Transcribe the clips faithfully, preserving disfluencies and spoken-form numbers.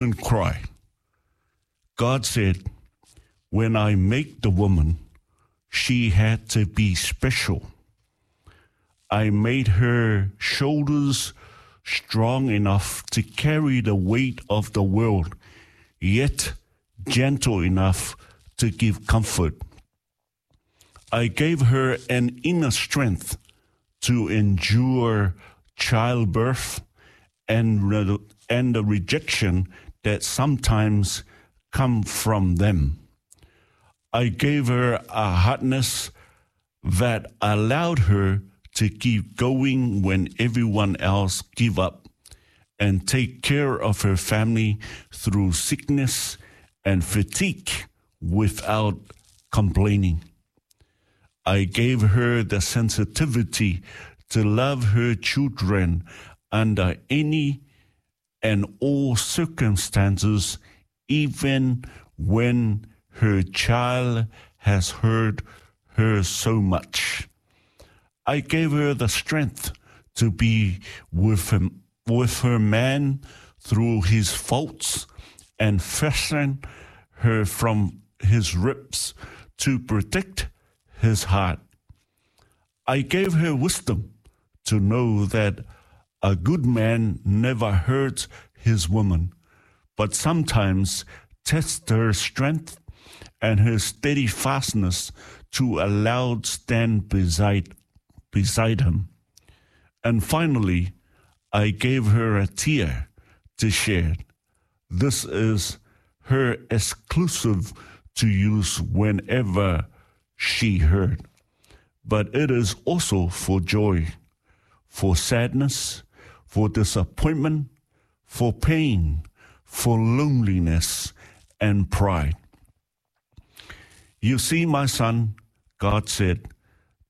And cry. God said, when I make the woman, she had to be special. I made her shoulders strong enough to carry the weight of the world, yet gentle enough to give comfort. I gave her an inner strength to endure childbirth and, re- and the rejection that sometimes come from them. I gave her a hardness that allowed her to keep going when everyone else give up and take care of her family through sickness and fatigue without complaining. I gave her the sensitivity to love her children under any and all circumstances, even when her child has hurt her so much. I gave her the strength to be with him, with her man through his faults and fasten her from his ribs to protect his heart. I gave her wisdom to know that a good man never hurts his woman, but sometimes tests her strength and her steadfastness to allow stand beside, beside him. And finally, I gave her a tear to shed. This is her exclusive to use whenever she hurt. But it is also for joy, for sadness, for disappointment, for pain, for loneliness and pride. You see, my son, God said,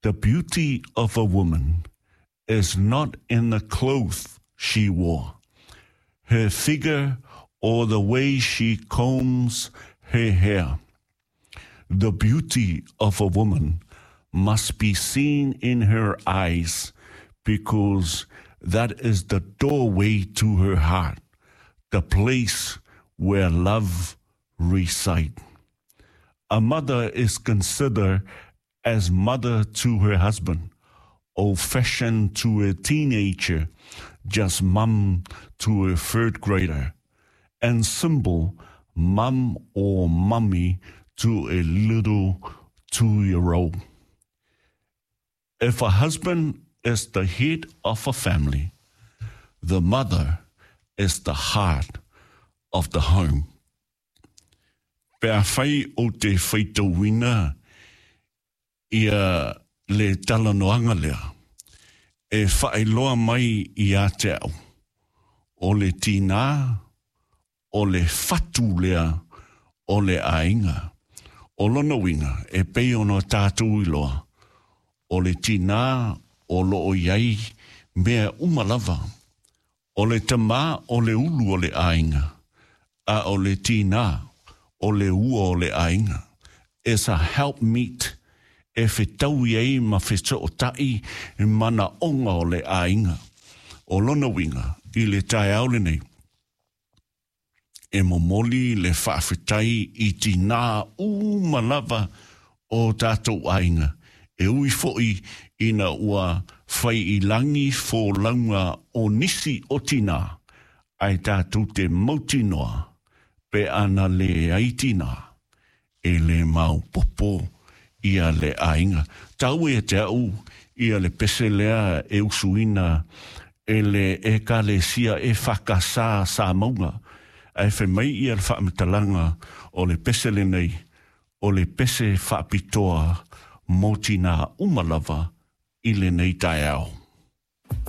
the beauty of a woman is not in the clothes she wore, her figure, or the way she combs her hair. The beauty of a woman must be seen in her eyes, because that is the doorway to her heart, the place where love resides. A mother is considered as mother to her husband, old-fashioned to a teenager, just mum to a third grader, and simple mum or mummy to a little two-year-old. If a husband is the head of a family, the mother is the heart of the home. Pe afai o te faitauina ia le talanoaga lea, e faailoa mai ia te au, o le tinā, o le fatu lea, o le aiga. O lona uiga, e pei ona tatou iloa, o le tinā o loo i ai mea uma lava. O le tamā o le ulu o le aiga, a o le tinā o le ua o le aiga. Is a help meet e fetaui ai ma feso'ota'i manaoga o le aiga. O lona uiga i le taeao lenei, e momoli le faafetai i tinā uma lava o tatou aiga. E ui fo'i ina ua fai i lagi folauga o nisi o tinā, ae tatou te mautinoa pe ana leai tinā, e le maopoopo ia le aiga. Taua ia te au ia le pese lea e usuina e le Ekalesia e Whakasā Samauga. Ae fai mai ia le faamatalaga o le pese lenei, o le pese faapitoa mo tinā uma lava i lenei taeao.